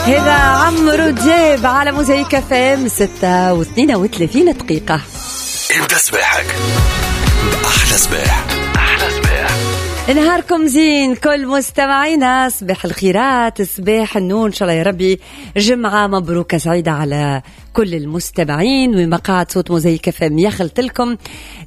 هذا عمرو دياب على موزايك FM، 6:32. ابدا صباحك بأحلى صباح. أحلى صباح. نهاركم زين كل مستمعينا، صباح الخيرات، صباح النور، ان شاء الله يا ربي جمعة مبروكة سعيدة على كل المستمعين. ومقاعد صوت موزايك FM يخلط لكم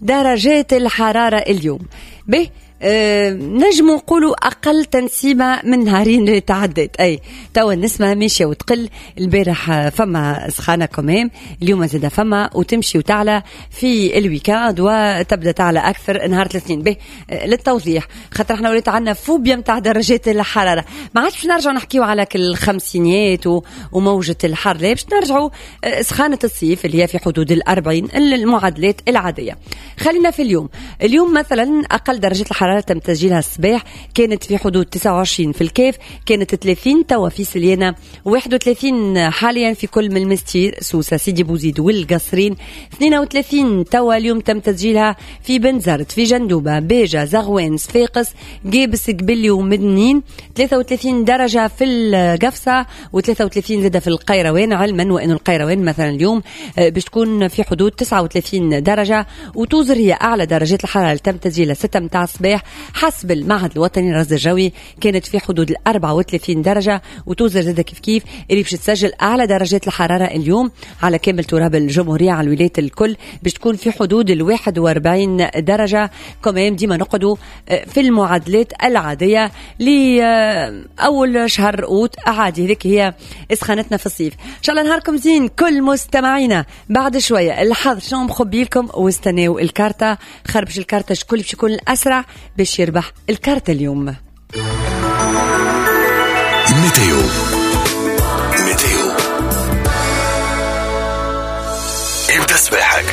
درجات الحرارة اليوم به نجم نقولوا أقل تنسيمة من نهارين اللي تعدت، أي توا النسمة ماشية وتقل. البارح فما سخانة quand même، اليوم زاد فما وتمشي وتعلى في ال week-end وتبدا تعلى أكثر نهار الاثنين. به للتوضيح خاطر احنا وليت عندنا فوبيا نتاع درجات الحرارة، ما عادش باش نرجعوا نحكيو على كل الخمسينيات وموجة الحر، لا باش نرجعوا سخانة الصيف اللي هي في حدود 40 المعادلات العادية. خلينا في اليوم، اليوم مثلا أقل درجة الحرارة تم تسجيلها الصباح كانت في حدود 29 في الكاف، كانت 30 توا في سليانة، 31 حاليا في كل من المستير، سوسة، سيدي بوزيد والقصرين، 32 توا اليوم تم تسجيلها في بنزرت، في جندوبة، بيجا، زغوان، صفاقس، قابس، قبلي ومدنين، 33 درجة في القفصة و33 زادة في القيروان، علما وأن القيروان مثلا اليوم باش تكون في حدود 39 درجة، وتوزر هي أعلى درجات الحرارة اللي تم تسجيلها 6 متاع الصباح حسب المعهد الوطني للرصد الجوي كانت في حدود 34 درجة، وتوزر زادة كيف كيف اللي باش تسجل أعلى درجات الحرارة اليوم على كامل تراب الجمهورية على الولايات الكل باش تكون في حدود 41 درجة. quand même ديما نقعدوا في المعادلات العادية لأول شهر أوت عادي، هذيك هي سخانتنا في الصيف. إن شاء الله نهاركم زين كل مستمعينا. بعد شوية الحظ شنو مخبي لكم، واستناو الكارتة، خربش الكارتة شكون باش يكون الأسرع باش يربح الكارت اليوم. météo météo، ابدا صباحك